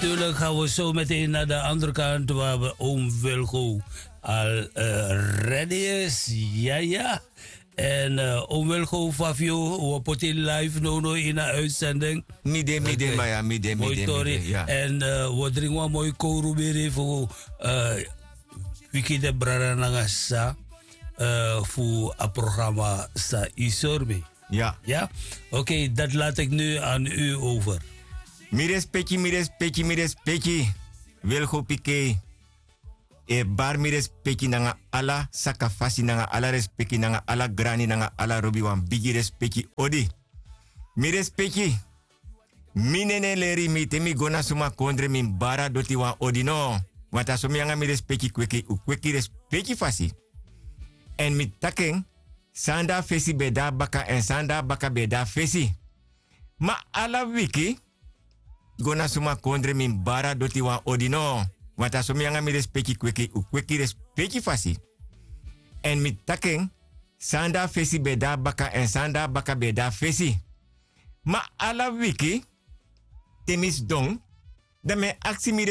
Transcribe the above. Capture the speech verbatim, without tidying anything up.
Natuurlijk gaan we zo meteen naar de andere kant waar we oom Wilgo al eh, ready is. Ja, ja. En eh, oom Wilgo, Fafio, we poti live no no in de uitzending. Mi de, mi de, Oké. Maya, mi de, mi Mooi de, mi tori. De, ja. En eh, we drinken een mooi korubiri voor eh, Wiki de Brada Nanga sa eh, voor het programma Sa Isormi. Ja. Ja? Oké, dat laat ik nu aan u over. Mi respeki, mi respeki, mi respeki. Wilgo Pike. E bar mi respeki nanga ala sakafasi, nanga ala respeki, nanga ala grani, nanga ala robi, wan bigi respeki odi. Mi respeki. Mi nene leri mi te mi go na suma kondre mi bara doti wan odi no. Want a so mi nanga mi respeki kweki, un kweki respeki fasi. En mi taki en, san de a fesi ben de a baka, en san de a baka ben de a fesi. Ma ala wiki, go na suma kondre mi bara doti wan odi no. Want a so mi nanga mi respeki kweki, un kweki respeki fasi. En mi taki en, san de a fesi ben de a baka, en san de a baka ben de a fesi. Ma ala wiki, te mi sidon, dan mi e aksi mi